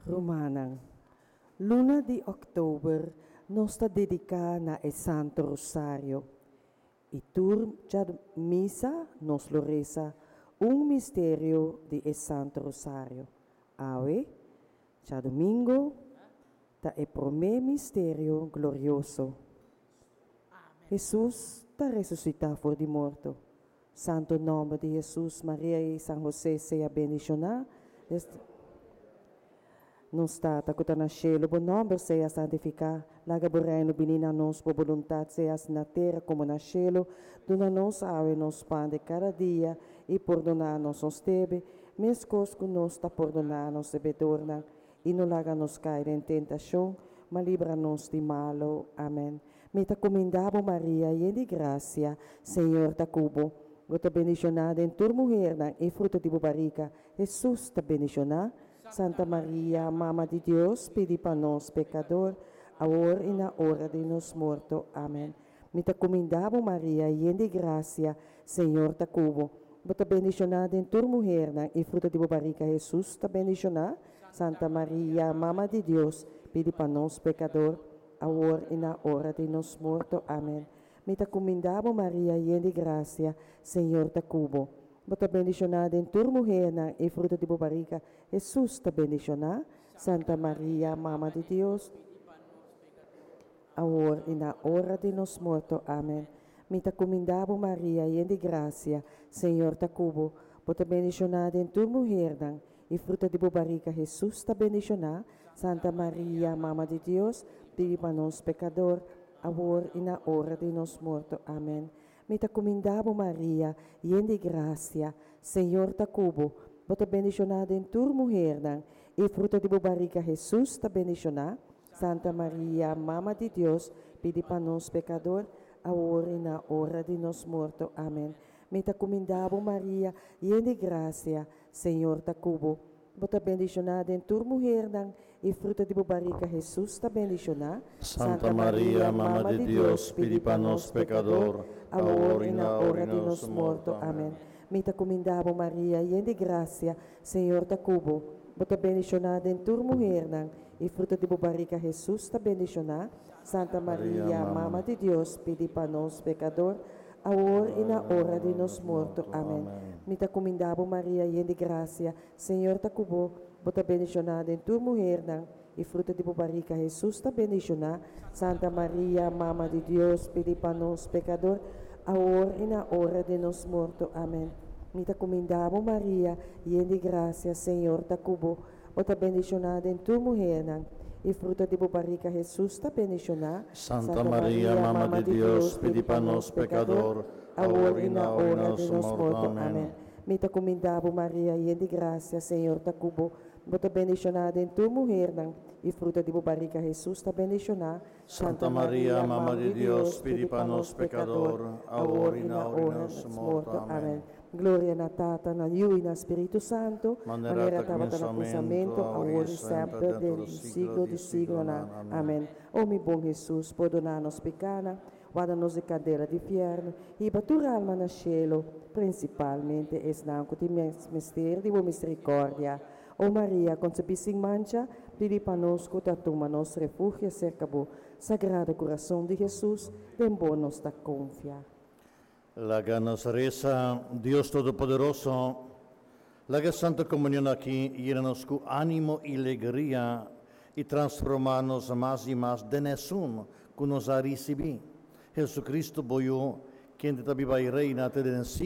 Rumannan, luna di òktober nos ta dediká na e Santo Rosario. I tur misa nos lo resa un misterio di e Santo Rosario. Awe, djadumingu, ta e promé misterio glorioso. Hesus ta resusitá for di morto. Santo nòmber di Hesus, Maria i San Hosé sea bendishoná. Nos Tata ku ta na shelu, bo nòmber sea santifiká. Laga bo reino bini na nos, bo boluntat sea hasi na tera komo na shelu. Duna nos awe nos pan di kada dia i pordoná nos nos debe, meskos ku nos ta pordoná nos debedornan. I no laga nos kai den tentashon, ma libra nos di malu. Amèn. Mi ta kumindá bo, Maria, yen di grasia, Señor ta ku bo. Bo ta bendishoná den tur muhernan, i fruto di bo barika, Hesus, ta bendishoná. Santa Maria, Mama di Dios, pidi pa nos pekador, awor i na ora di nos morto. Amèn. Mi ta kumindá bo, Maria, yen di grasia, Señor ta ku bo. Bo ta bendishoná den tur muhernan, i fruto di bo barika, Hesus, ta bendishoná. Santa Maria, Mama di Dios, pidi pa nos pekador, awor i na ora di nos morto. Amèn. Mi ta kumindá bo, Maria, yen di grasia, Señor ta ku bo. Bo ta bendishoná den tur muhernan, i fruto di bo barika, Hesus, ta bendishoná. Santa Maria, Mama di Dios, awor i na ora di nos morto. Amèn. Mi ta kumindá bo, Maria, yen di grasia, Señor ta ku bo. Bo ta bendishoná den tur muhernan, i fruto di bo barika, Hesus, ta bendishoná. Santa Maria, Mama di Dios, pidi pa nos pekador, awor i na ora di nos morto. Amèn. Mi ta kumindá bo, Maria, yen di grasia, Señor ta ku bo. Bo ta bendishoná den tur muhernan, i fruto di bo barika, Hesus, ta bendishoná. Santa Maria, Mama di Dios, pidi pa nos pekador, awor i na ora di nos morto. Amèn. Mi ta kumindá bo, Maria, yen di grasia, Señor ta ku bo. Bo ta bendishoná den tur muhernan, i fruto di bo barika, Hesus, ta bendishoná. Santa Maria, Mama di Dios, pidi pa nos pekador, awor i na ora di nos morto. Amèn. Mi ta kumindá bo, Maria, yen di grasia, Señor ta ku bo. Bo ta bendishoná den tur muhernan, i fruto di bo barika, Hesus, ta bendishoná. Santa Maria, Mama di Dios, pidi pa nos pekador, awor i na ora di nos morto. Amèn. Mi ta kumindá bo, Maria, yen di grasia, Señor ta ku bo. Bo ta bendishoná den tur muhernan, i fruto di bo barika, Hesus, ta bendishoná. Santa Maria, Mama di Dios, pidi pa nos pekador, awor i na ora di nos morto. Amèn. Mi ta kumindá bo, Maria, yen di grasia, Señor ta ku bo. Bo ta bendishoná den tur muhernan, i fruto di bo barika, Hesus, ta bendishoná. Santa Maria, Mama di Dios, pidi pa nos pekador, awor i na ora di nos morto. Amèn. Mi ta kumindá bo, Maria, yen di grasia, Señor ta ku bo. Bo ta bendishoná den tur muhernan, i fruto di bo barika, Hesus, ta bendishoná. Santa Maria, Mama di Dios, pidi pa nos pekador, awor i na ora di nos morto. Amèn. Gloria na Tata, na Yu i na Spiritu Santu, manera tabata na kuminsamentu, awor i semper, den siglo di siglonan. Amèn. O mi bon Hesus, pordoná nos pikánan, warda nos di kandela di fièrnu, hiba tur alma na shelu, prinsipalmente esnan ku tin mester di bo miserikòrdia. O Maria, konsebí sin mancha, pidi pa nos ku ta tuma nos refugio serka bo. Sagrado Kurason di Hesus, den bo nos ta konfia. Laga nos resa, Dios Todopoderoso, laga e Santa Komunion aki yena nos ku ánimo i legria i transformá nos mas i mas den esun ku nos a risibí, Hesukristu bo Yu, kende ta biba i reina te den siglo.